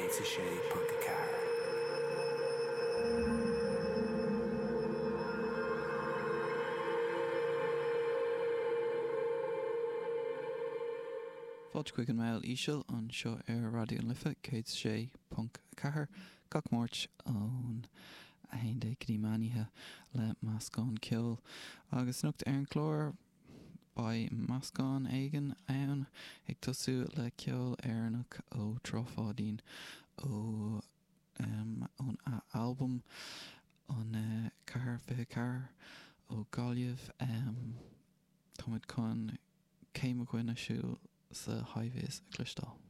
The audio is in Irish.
106.4. Fáilte chuig an Meall Íseal anseo ar Raidió na Life 106.4 gach Máirt ón 11 go dtí meán oíche le meascán ceoil. Agus anocht ar an gclár beidh meascán éigin ann, ag tosú le ceol Éireannach ó Trá Pháidín ó ón albam an 424 ó Gaillimh. Táimid chun Cé Mo Dhuine Siúil sa High Vis a chloisteáil.